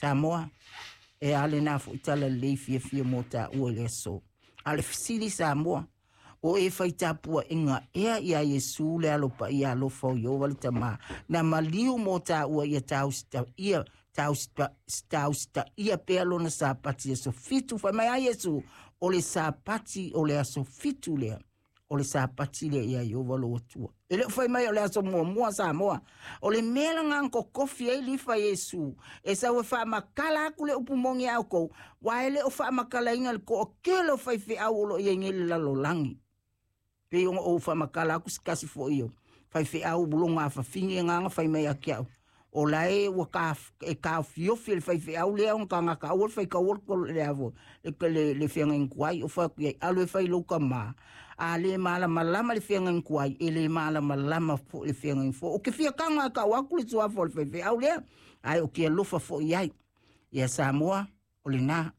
Samoa, e a lenā foʻi tala lelei fiafia mo taua i le aso. A o le fesili Samoa, o e fai tapuaʻiga ea iā Iesu le Alo Paia alofa o Ieova le Tamā, na maliu mo taua ia tausitaia tausitaia pea lona Sapati aso 7? Fai mai a Iesu, o le Sapati o le aso 7 lea, o le Sapati lea iā Ieova lou Atua. E le o fai mai o le aso muamua Samoa. O le mea laga kokofi ai lifa Iesu, e sau e faamakala atu le upu moni a outou, ua e le o faamakalaina le toatele o faifeau o lo o i ai nei le lalolagi. Pei ona ou faamakala atu se tasi foʻi o faifeau lona afafine agaga fai mai ia te au, o la e ua e taofiofi e le faifeau lea ona tagata aua le faitaua le avo le feagaiga tuai. O fai atu i ai, alu e fai lou tamā. A le malamalama le feagaiga tuai, e le malamalama foʻi le feagaiga fou. Ou te fia tago ae tau atu le suafa o le faifeau lea, ae ou te alofa foʻi ai ia Samoa. O lenā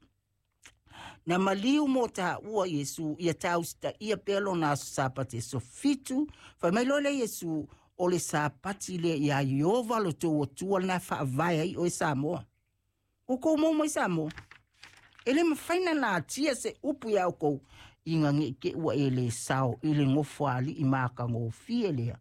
na maliu mo taua Iesu ia tausitaia pea lona aso Sapati aso 7. Fai mai loa le Iesu, o le Sapati lea iā Ieova lo tou Atua lena e faavae ai oe Samoa. Ua tou mau mai Samoa, e le mafai na natia se upu iā outou ina ne i te i ua e lē sao i le nofoalii matagofie lea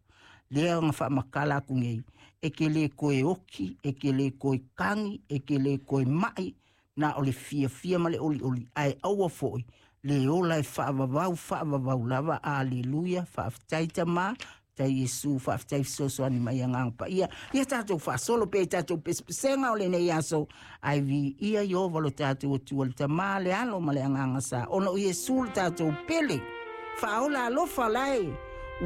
lea na faamatala atu nei. E te lē toe oti, e te lē toe tagi, e te lē toe maʻi, na o le fiafia ma le olioli, ae aua foʻi le ola e faavavau faavavau lava. Aleluia. Faafetai Tamā, faafetai Iesu, faafetai fesoasoani mai Agaga Paia. Ia tatou faasolo pea i tatou pesepesega o lenei aso, ae viia Ieova lo tatou Atua, le Tamā, le Alo ma le Agaga Sa, ona o Iesu le tatou pele faaola alofa lae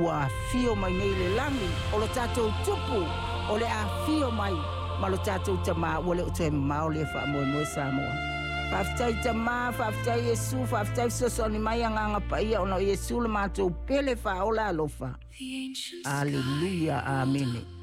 ua afio mai nei le lagi, o lo tatou Tupu o le afio mai ma lo tatou Tamā. Ua le o toe mamao lea faamoemoe Samoa. Faafetai Tamā, faafetai Iesu, faafetai fesoasoani mai Agaga Paia, ona o Iesu le matou pele faaola alofa. The ancient Aleluia, sky rolled amene.